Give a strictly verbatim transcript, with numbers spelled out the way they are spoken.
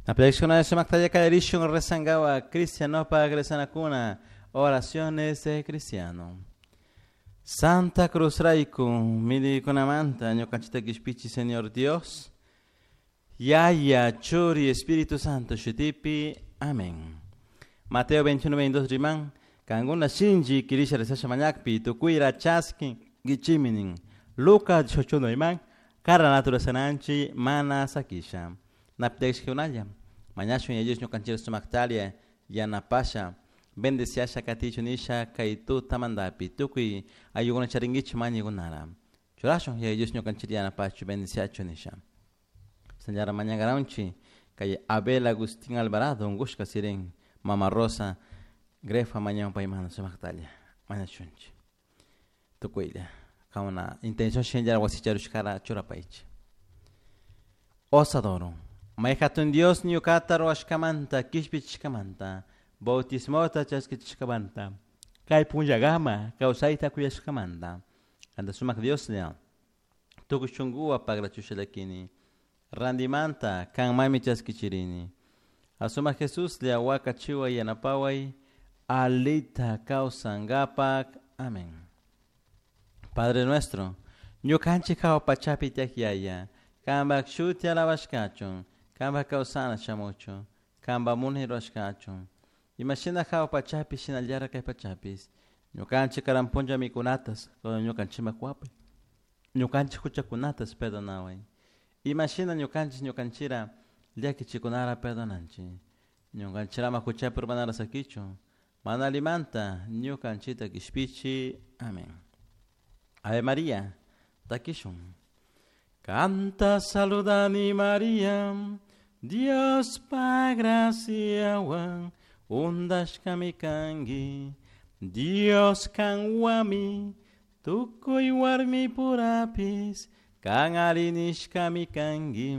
Napilakshkuna sumaktalla kallarishun rezangawa cristianopak rezanakuna oraciones de cristiano. Santa Cruz rayku millaykunamanta ñukanchikta kishpichi Señor Dios. Yaya, Churi, Espíritu Santo shutipi. Amén. Mateo veintiuno, veintidós riman, kankuna shinchi kirisha rezasha mañakpi, tukuyra chaskinguichikmi nin. Lucas dieciocho riman, karanata rurashananchik mana sakisha. Napilakshkunalla, mañashun Yaya Dios ñukanchik sumaktalla yanapasha, bendeciasha katichu nisha kay tutamantapi, tukuy ayllukuna charinkichik mañaykunara. Churashun Yaya Dios ñukanchik yanapachu, bendeciachu nisha. Señora mañankaranchik kay Abel Agustín Alvarado unkushka sirin Mama Rosa Grefa mañan paymanta sumaktalla mañashunchik. Tukuylla kankuna intención shinallara wasicharushkara churapaychik. Osadoro. May hatun Dios ñukata ruwashkamanta kishpichishkamanta bautismota chaskichishkamanta kay punllakama kawsayta kuyashkamanta kanta sumak Dioslla tukuy shunkuwan pagrachusha llakini randimanta kanmanmi chaskichirini asumak Jesuslla wakachiway yanapaway alita kawsankapak. Amén. Padre nuestro, ñukanchik hawa pachapi tiyak Yaya, kanpak shuti alabashkachun, kanpak kawsana shamuchun, kanpak munay rurashkachun, imashina hawa pachapi shinallara kay pachapis. Ñukanchik karan punlla mikunatas ñukanchikman kuwapay. Ñukanchik huchakunatas perdonaway, imashina ñukanchik ñukanchira llakichikunara perdonanchik. Ñukanchirama huchapi urmanara sakichun, mana allimanta ñukanchikta kishpichi. Amén. Ave María, takishun. Kanta saludani Maria, Diospa graciawan undashkami kanki, Dios kanwami, tukuy warmi purapis, kan arinishkami kanki.